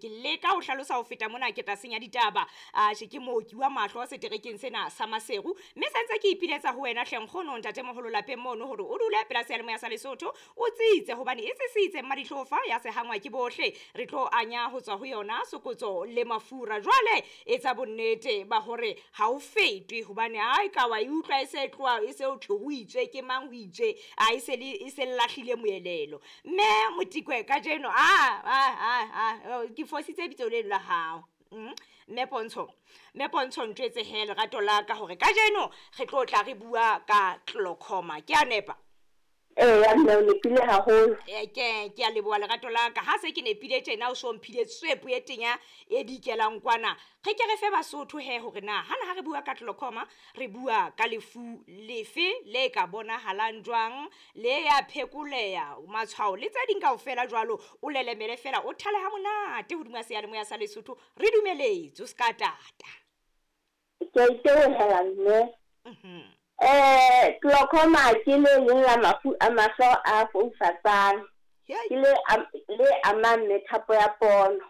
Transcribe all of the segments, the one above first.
Ke leka ho hlalosa ho feta mona ke tla senya ditaba. Atjhe, ke mooki wa mahlo seterekeng sena sa Maseru, mme se ntse ke ipiletsa ho wena hle nkgono ntatemoholo lapeng mono hore o dule pela seyalemoya sa Lesotho o tsitse, hobane e sisitse mmadihlofa ya sehangwa ke bohle. Re tlo anya ho tswa ho yona sokotso le mafura. Jwale etsa bonnete ba hore ha o fetwe, hobane ha e ka wa e utlwa e se tloha e se ho thwe ho itswe ke mang ho itswe, a e se le e se lahlile moelelo. Mme Motikwe kajeno a ke fositse bitso leno la hao. Mme Pontsho, Mme Pontsho ntjwetse he lerato la ka hore kajeno re tlo tla re bua ka glaucoma. Ke a nepa? Eya mme, o nepile haholo. Ke a leboha lerato la ka. Ha se ke nepile tjena o so mphile tswepo e tenya e dikelang kwana. Re ke re fe Basotho he hore na hana ha re bua ka glaucoma re bua ka lefu lefe le ka bonahalang jwang, le ya phekoleha, matshwao le tse ding kaofela jwalo. O lelemele fela o thale ha monate hodima seyalemoya sa Lesotho. Re dumeletse o ska tata. Ke a itebohela mme. Glaucoma ke le leng la mafu a mahlo a foufatsang. Ke le amang methapo ya pono.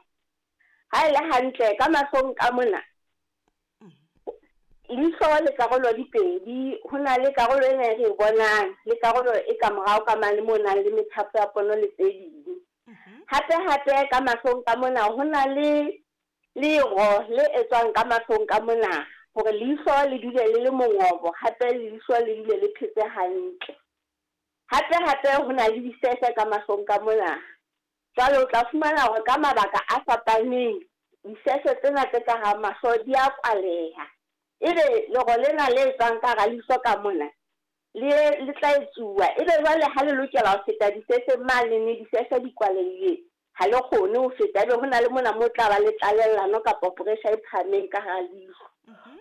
Ha e le hantle ka mahlong ka mona, leihlo le karolo di pedi, ho na le karolo ena e re e bonang le karolo e ka morao ka mane mo nang le methapo ya pono le tse ding. Hape hape ka mahlong ka mona ho na le lero le etswang ka mahlong ka mona hore leihlo le dule le le mongobo, hape leihlo le dule le phetse hantle. Hape hape ho na le disefe ka mahlong ka mona. Jwale o tla fumana hore ka mabaka a fapaneng disefe tsena tse ka hara mahlo di a kwaleha. Ebe lero lena le etswang ka hara leihlo ka mona le tla etsuwa. Ebe jwale ha le lokela ho feta disefeng mane ne disefe di kwalehile, ha le kgone ho feta. Ebe ho na le mona mo tla ba le tlalellano kapa pressure e phahameng ka hara leihlo.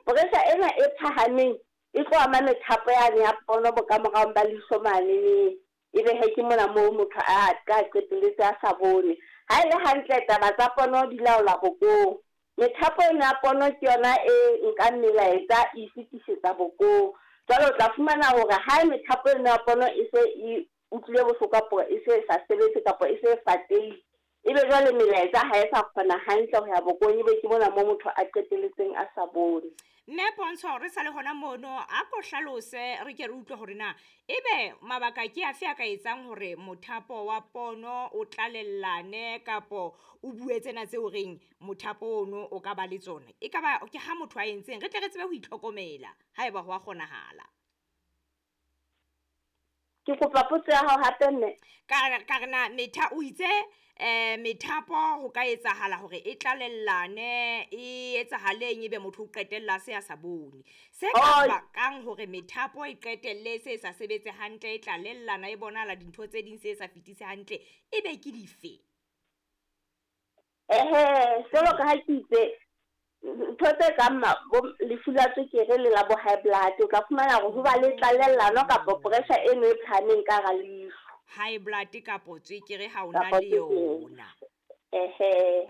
Pressure ena e phahameng e tlo ama methapo yane ya pono bokamoraong ba leihlo mane. Ebe he ke mona moo motho a tla qetelletse a sa bone. Ha e le hantle taba tsa pono di laola bokong. Methapo ena ya pono ke yona e nkang melaetsa e fetisetsa bokong. Jwale o tla fumana hore ha methapo ena ya pono e se e utlwile bohloko kapo e se sa sebetse kapo e se e fatehile, ebe jwale melaetsa ha e sa kgona hantle ho ya bokong, ebe ke mona moo motho a qetelletseng a sa bone. Mme Pontsho, re sa le hona mono, a ko hlalose re ke re utlwe hore na ebe mabaka ke afe a ka etsang hore mothapo wa pono o tlalellane kapo o bue tsena tseo reng mothapo ono o ka ba le tsona. E ka ba ke ha motho a entseng, re tle re tsebe ho itlhokomela haeba ho a kgonahala. Ke kopa potso ya hao hape mme. Ka re na metha o itse methapo ho ka etsahala hore e tlalellane, e etsahaleng ebe motho o qetella se a sa bone. Se ka bakang hore methapo e qetelle se sa sebetse hantle, e tlalellana, e bonahala dintho tse ding se sa fetise hantle, ebe ke dife? Ehe, jwalo ka ha ke itse ntho tse kang lefu la tswekere le la bo high blood, o tla fumana hore ho ba le tlalellano kapa pressure eno e phahameng ka hara leihlo. High blood kapo tswekere ha o na le yona. Ehe.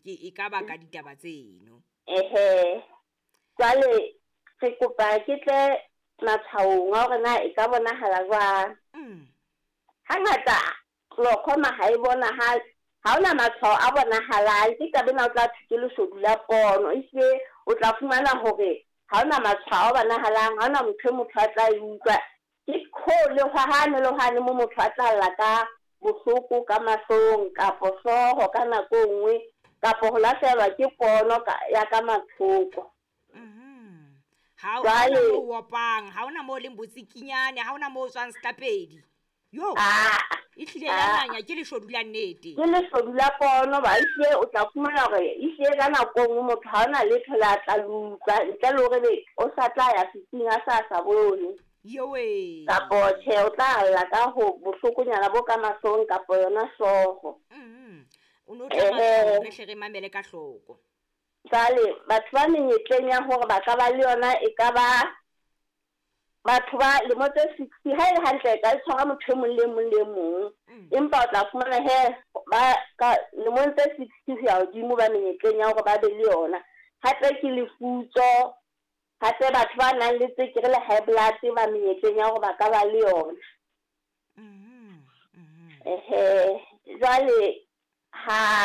Ke e ka baka ditaba tseno. Ehe. Jwale re kopa ke tle matshwaong a hore na e ka bonahala jwang. Hangata glaucoma ha e bonahale, ha hona matshwao a bonahalang. Ke taba ena o tla thwe ke leshodu la pono. Ehlile o tla fumana hore ha hona matshwao a bonahalang, ha hona motho e motho a tla e utlwa. Ke le hwane le hwane mo motho a tla lla ka bohloko ka mahlong kapo hlooho ka nako e nngwe kapo ho lahlehelwa ke pono ya ka mathoko. Ha hona moo opang, ha hona moo leng botsikinyane, ha hona moo tswang setlapedi. Yo. Ehlile ya nanya ke leshodu la nnete. Ke leshodu la pono ba ehlile o tla fumana hore ehlile ka nako e nngwe motho ha hona letho le a tla le utlwa ntle le hore o sa tla ya setsing a sa bone. Yowe. Kapo tjhe o tla lla ka ho bohlokonyana bo ka mahlong kapo yona hlooho. O no tla re hle re mamele ka hloko. Jwale batho ba menyetleng ya hore ba ka ba le yona e ka ba batho ba lemo tse 60, ha e le hantle e ka tshwara motho e mong le mong le mong. Empa o tla fumana he ba ka lemong tse 60 ho ya hodimo ba menyetleng ya hore ba be le yona. Hape ke lefutso, hape batho ba nang le tswekere le high blood ba menyetleng ya hore ba ka ba le yona. Ehe, jwale Ha.